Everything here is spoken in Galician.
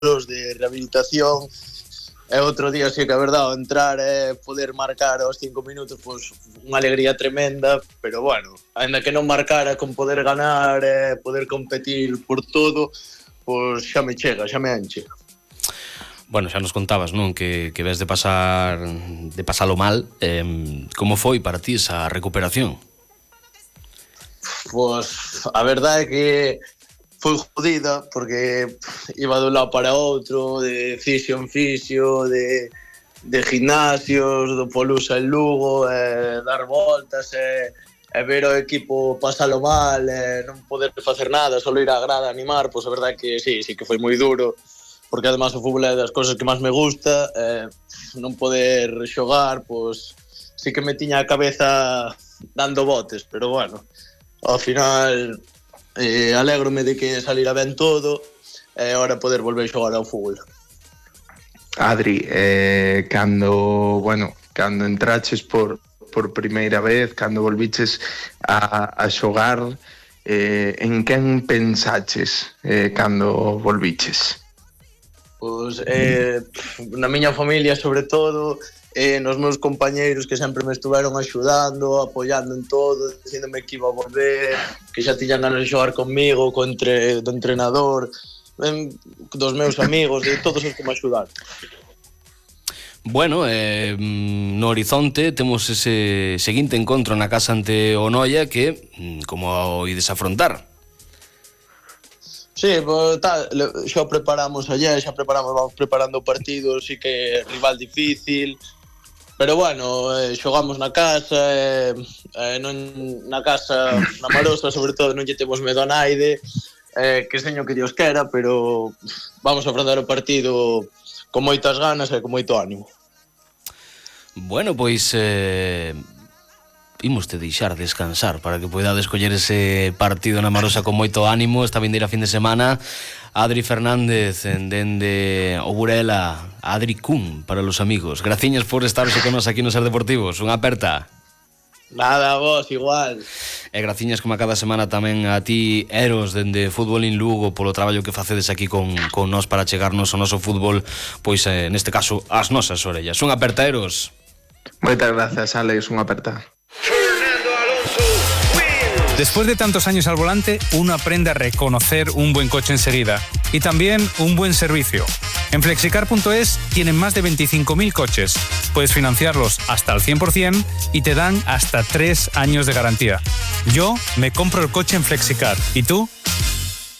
de rehabilitación. E outro día, sí que é verdade, entrar e poder marcar aos 5 minutos, pois unha alegría tremenda, pero bueno, ainda que non marcara, con poder ganar e poder competir por todo, pois xa me chega, xa me enche. Bueno, xa nos contabas, non? Que ves de pasalo mal. Como foi para ti esa recuperación? Pois a verdade é que foi jodida, porque iba de un lado para outro, de fisio en fisio, de gimnasios, do Polusa en Lugo, dar voltas, e ver o equipo pasalo mal, non poder facer nada, só ir á grada a animar, pois a verdade é que sí que foi moi duro, porque además o fútbol é das cousas que máis me gusta, non poder xogar, pois sí que me tiña a cabeza dando botes, pero bueno, ao final alégrome de que salira ben todo e agora poder volver a xogar ao fútbol. Adri, cando entraches por primeira vez, cando volviches a xogar, en quen pensaches cando volviches? Pois na miña familia sobre todo, nos meus compañeiros que sempre me estuveron axudando, apoiando en todo, dicíndome que iba a volver, que xa tiñan ganas de xogar comigo, do entrenador, dos meus amigos, de todos os que me axudaron. Bueno, no horizonte temos ese seguinte encontro na casa ante o Noia que, como ides afrontar? Sí, pues, xa preparamos vamos preparando o partido, sí que é rival difícil, pero bueno, xogamos na casa, na Marosa, sobre todo, non lle temos medo a naide, que seño que Dios quera, pero vamos a afrontar o partido con moitas ganas e con moito ánimo. Bueno, pois imos te deixar descansar para que poidades coller ese partido na Marosa con moito ánimo esta vindeira fin de semana. Adri Fernández dende o Burela, Adri Kun para los amigos. Graciñas por estarse con nos aquí no Ser Deportivos. Unha aperta. Nada, vos, igual. E graciñas como a cada semana tamén a ti, Eros, dende Fútbol en Lugo, polo traballo que facedes aquí con nós para chegarnos ao noso fútbol, pois neste caso, ás nosas orellas. Unha aperta, Eros. Moitas gracias, Alex, unha aperta. Después de tantos años al volante, uno aprende a reconocer un buen coche enseguida y también un buen servicio. En Flexicar.es tienen más de 25.000 coches. Puedes financiarlos hasta al 100% y te dan hasta 3 años de garantía. Yo me compro el coche en Flexicar. ¿Y tú?